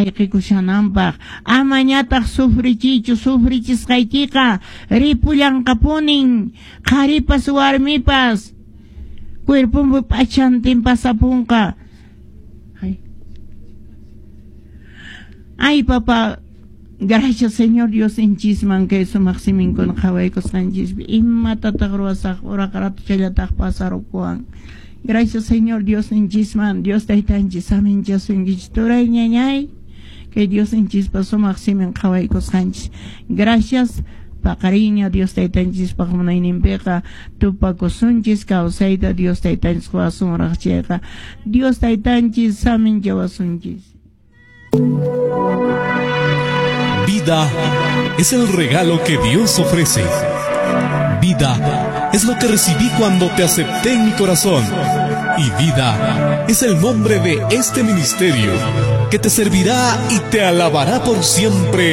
Ayqikushananpaq amañataq sufrichiychu, sufrichisqaykiqa ripullanqapunin, qharipas warmipas cuerponpi p'achantin pasapunqa. Ay, ay papá, gracias Señor Dios inchisman kay sumaq siminkuna qhawaykusqanchispi. Imatataq ruwasaq uraqa ratuchallataq pasarukuwan. Gracias Señor Dios inchisman, Dios taytanchis saminchasunkichis turay ñañay. Kay Dios inchispa sumaq simin qhawaykusqanchis. Gracias paqariña Dios taytanchispaq munayninpiqa tupakusunchis kawsayta Dios taytanchis qowasunraq chayqa Dios taytanchis saminchawasunchis. Vida es el regalo que Dios ofrece. Vida es lo que recibí cuando te acepté en mi corazón. Y vida es el nombre de este ministerio que te servirá y te alabará por siempre.